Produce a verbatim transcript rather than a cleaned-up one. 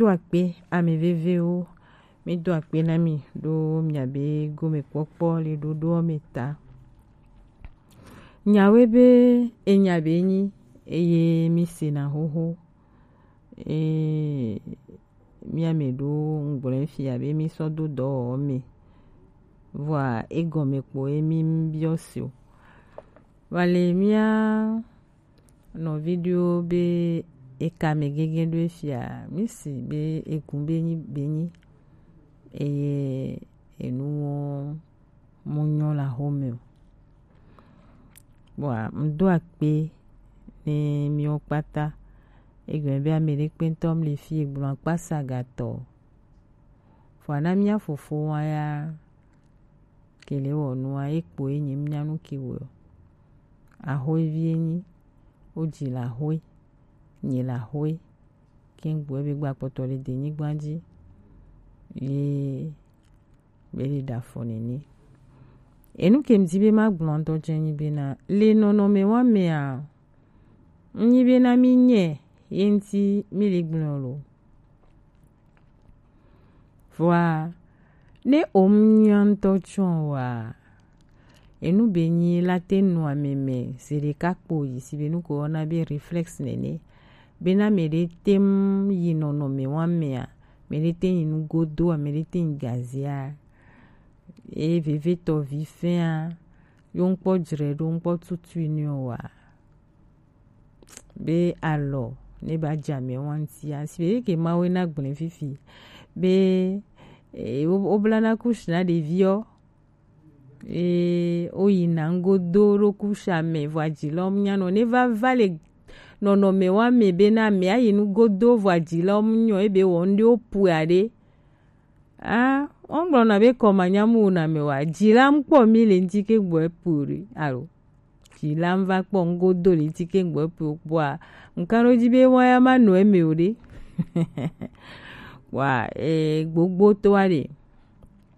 Do akpe, ame vevewo, mi do akpe na mi ɖo miabe gomekpɔkpɔ le ɖoɖoɔ me ta. Nyawe be enya be nyi eye mi sena xoxo. E mia me ɖo ŋgblɔ fia be mi sɔ do dɔwɔwɔ me. Vɔa egɔme kpo emi biɔ si o. Vale mia nɔvi ɖewo be eka me gege ɖo efia, mi si be egun be nyi be nyi eye enuwo mo nyɔ le axome o. Bɔa ŋdo akpe ne miwo kpata. Egɔme be ame ɖe kpe ŋutɔ mle fi egblɔ akpa sagatɔ. Vɔa na mia fofo wa ya kele wɔ nua ekpo enyi mia nu ki wɔ. Axoe vie nyi, wo dzi le axoe, nyi le axoe. Kengboe be gba kpɔtɔ le denyigba dzi ye be le ɖe afɔ nene. Enu ke mdi be magblɔ ŋutɔ tsɛ nyi bena le nɔnɔme wa mea, nyi bena mi nyɛ ye ŋti mi le gblɔ lo. Vɔa ne o nya ŋutɔ tsɔ wa, enu be nyi la te nu ame me se ɖeka kpo yi si be nu ko wɔna be reflex nene. Bena me ɖe te yi nɔnɔme wa mea, me ɖe te yi nugodo a, me ɖe te yi gazia. E vevetɔ vi fɛa, yo ŋkpɔ dzre ɖo ŋkpɔ tutui ni o wa. Be alɔ ne ba dza me wa ŋtia, si be ke mawe na gblẽ fifi. Be e, wo, wo bla na kush na ɖeviɔ. Eye woyina ŋgodo ɖo kusa me vɔ adzi lɔm nyanɔ ne va va le nɔnɔme wa me be na me ayi nugodo vɔ adzi lɔm nyɔ ebe wɔ ŋɖe wo pue aɖe. Ah, ɔŋgblɔ na be kɔma nyamu na me wa dzi la ŋkpɔ mi le ŋti ke gbɔ epu ɖe alo dzi la ŋva kpɔ ŋgodo le ŋti ke gbɔ epu kpɔa ŋkan ɖo dzi be wa ya ma nɔ eme o ɖe. Wa e gbogbo to wa ɖe.